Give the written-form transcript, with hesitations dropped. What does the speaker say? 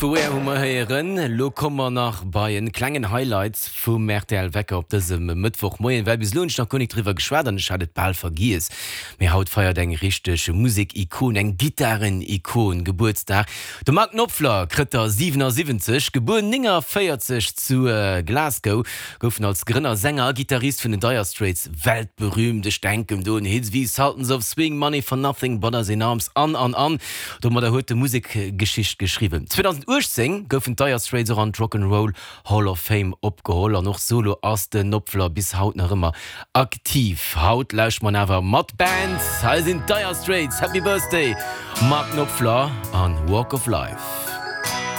Vu Where hu mer héieren. Lo komme mer nach bei en klengen Highlight vum rtl Wecker op dësem Mëttwochmoien, well bis elo hunn ech nach guer nik driwwer geschwat an ech hat et bal vergiess, mee haut feiert eng richteg Musek-Ikon, eng Gittaren-Ikon Gebuertsdag. De Mark Knopfler krëtt der 77, gebuer 49 zu Glasgow, gouf en als Grënner, Sänger a Gittarist vun den Dire Straits weltberühmt. Ech denken do un Hits wéi Sultans of Swing, Money for Nothing, Brothers in Arms an an an. Domadder huet e Musekgeschicht geschriwwen. 2018 goufen d'Dire Straits och an d'Rock 'n' Roll Hall of Fame opgeholl an och solo ass den Knopfler bis haut nach ëmmer aktiv. Haut lauscht mer en awer mat Band. Hei sinn d'Dire Straits, Happy Birthday Mark Knopfler an Walk of Life.